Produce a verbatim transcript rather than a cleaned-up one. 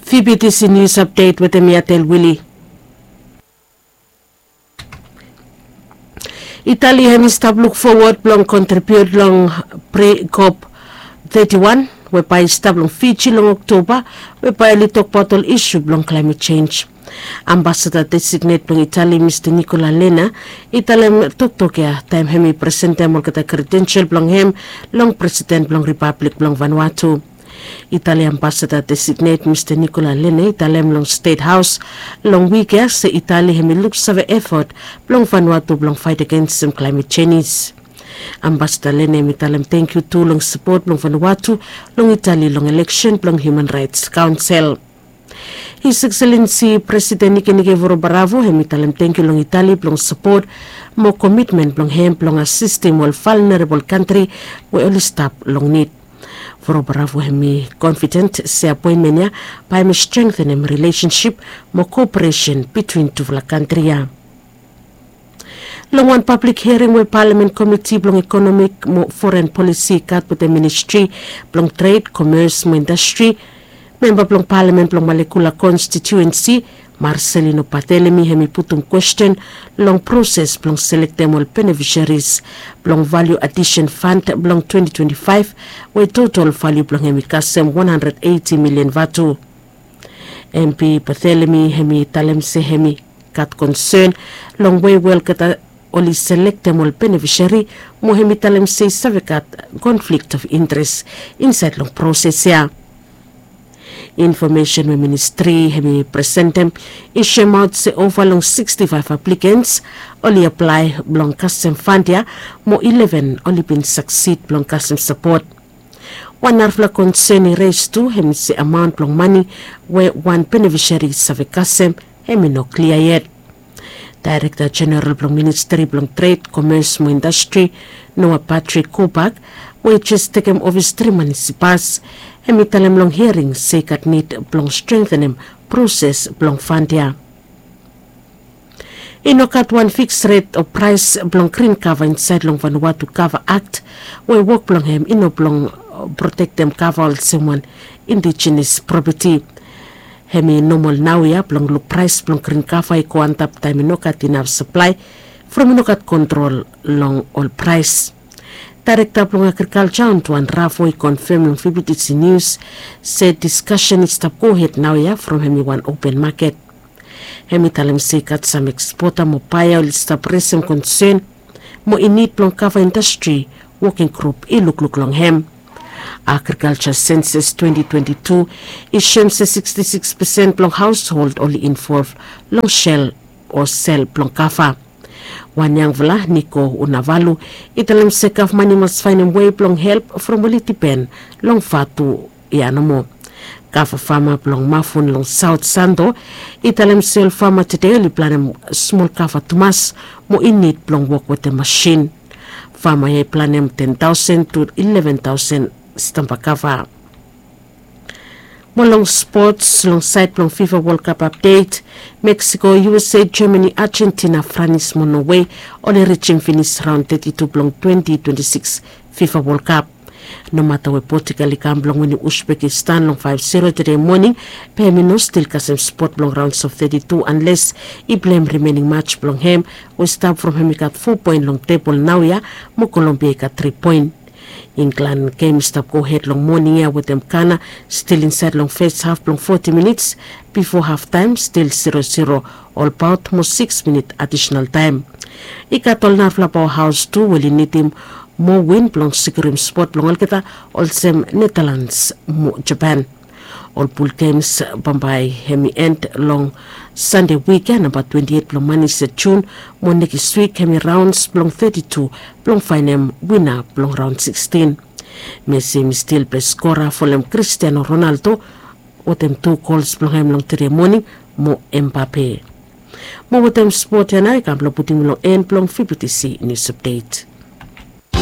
Vbtc news update wetem mi Atel Willie. Itali hem i stap luk fowod blong kontribiut long pre-cop thirty-one we bae i stap long Fiji long Oktoba, we bae oli tokbaot ol isu blong klaemet jenj. Ambasada designet blong Itali, Mista Nikola Lena, i talem toktok ya taem hem i presentem olgeta kredensel blong hem long Presiden blong Ripablik blong Vanuatu. Itali ambasada designet Mista Nikola Lena i talem long Stet Haos long wik ya se Itali hem i luksave efot blong Vanuatu blong faet agensem klaemet jenj. Ambasada Lena hem i talem tangkiu tu long sapot blong Vanuatu long Itali long eleksen blong Hiuman Raets Kaonsel. His Excellency Presiden Nikenike Vorobaravo hem i talem tangkiu long Itali blong sapot mo komitmen blong hem blong asistem ol valnerabol kantri we oli stap long nid. Vorobaravo hem i konfiden se apoenmen ya bae hem i strengtenem rilesensip mo koperesen bitwin tufala kantri ya. Long wan pablik hiaring we Palamen Komiti blong Ekonomik mo Foren Polisi i gat wetem Ministri blong Tred, Komes mo Indastri, memba blong Palamen blong Malekula konstitiuensi, Marcelino Barthelemy hem i putum kwesten long proses blong selektem ol benefisaris blong Valiu Adisen Fand blong twenti twenti faef, we totol valiu blong hem i kasem wan handred eiti milian vatu. MP Barthelemy hem i talem se hem i gat konsen long wei we olgeta oli selektem ol benefisari, mo hem i talem se i save gat konflikt of interes insaed long proses ya. Infomesen we ministri hem i presentem i soemaot se ova long sikstifaef aplikens oli aplae blong kasem fand ya, mo ileven oli bin saksid blong kasem sapot. Wan narafala konsen i res tu hem i se amaon blong mane we wan benefisari i save kasem hem i no klia yet. Daerekta Jeneral blong Ministri blong Tred, Komes mo Indastri, Noah Patrick Kobak, we i jes tekem ofis tri manis i pas, hem i talem long hiaring se i gat nid blong strengtenem proses blong fand ya. I no gat wan fiks ret o praes blong grin kava insaed long Vanuatu Kava Akt, we wok blong hem i no blong protektem kava olsem wan indijenes propeti. Hem i nomol naoia blong luk praes blong grin kava i go antap taem i no gat inaf saplae from i no gat kontrol long ol praes. Daerekta blong Agrikalja, Antoine Ravo, i konfem long VBTC Nius se diskasen i stap gohed naoia from hem i wan open maket. Hem i talem se i gat sam ekspota mo baea oli stap resem konsen mo i nid blong kava indastri woking grup i lukluk long hem. Agrikalja senses twenti twenti tu i soem se sikstisikis pesen blong haoshold oli involv long sel o sel blong kava. Wan yangfala, Niko Unavalu, i talem se gavman i mas faenem wei blong help from oli dipen long vatu ya nomo. Kava fama blong Mafun long Saot Santo i talem se ol fama tede oli planem smol kava tumas mo i nid blong wok wetem masin. Fama ya i planem ten taosen tu ileven taosen stamba kava. Mo long spots, long saed blong FIFA World Cup update, Mexico, USA, Germany, Argentina, Franis mo Norway oli rijim finis raon teti tu blong twenti twenti sikis FIFA World Cup. Nomata we Portugal i kam blong winim Uzbekistan long faef zero tede moning, be hem i no stil kasem spot blong raons of teti tu anles i pleim rimening maj blong hem we stap from hem i gat fo poen long tebol naoia, mo Kolombia i gat tri poen. Inglan gem i stap gohed long moning ya wetem Gana stil insaed long fes haf blong foti minits, bifo haftaem stil zero zero olbaot mo sikis minit adisonal taem. I gat ol narafala paoahaos tu we oli nidim moa win blong sikurim spot blong olgeta, olsem Netalans mo Japan. Ol pul gems bambae hem i end long Sande wik ya, namba twenti eit blong manis ya Jun, mo nekis wik hem i raons blong teti tu blong faenem wina blong raon sikstin. Messi hem i stil bes skora folem Cristiano Ronaldo wetem tu gols blong hem long tede moning mo Mbappe. Mo wetem spot ya nao i kam blong putim long en blong VBTC Nius Update.